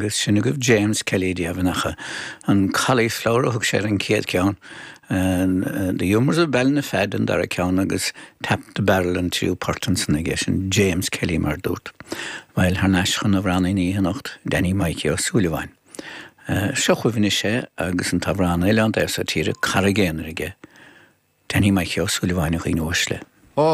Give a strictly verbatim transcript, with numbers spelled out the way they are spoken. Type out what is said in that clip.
Agus sin agaibh James Kelly deimhin an cauliflower a thug sé an chéad cheann. Uh, the Humours of Ballinafad an dara ceann agus Tap the Barrel an tríú port ansan aige sin James Kelly mar dúirt. Well thar n-ais chun na bhrannaí anocht Danny Mikey Ó Súilleabháin. Uh, Seo chuimhne sé agus an t-amhrán Oileán Daor sa Tír Carraig Aonair aige. Danny Mikey Ó Súilleabháin a dhaoine uaisle.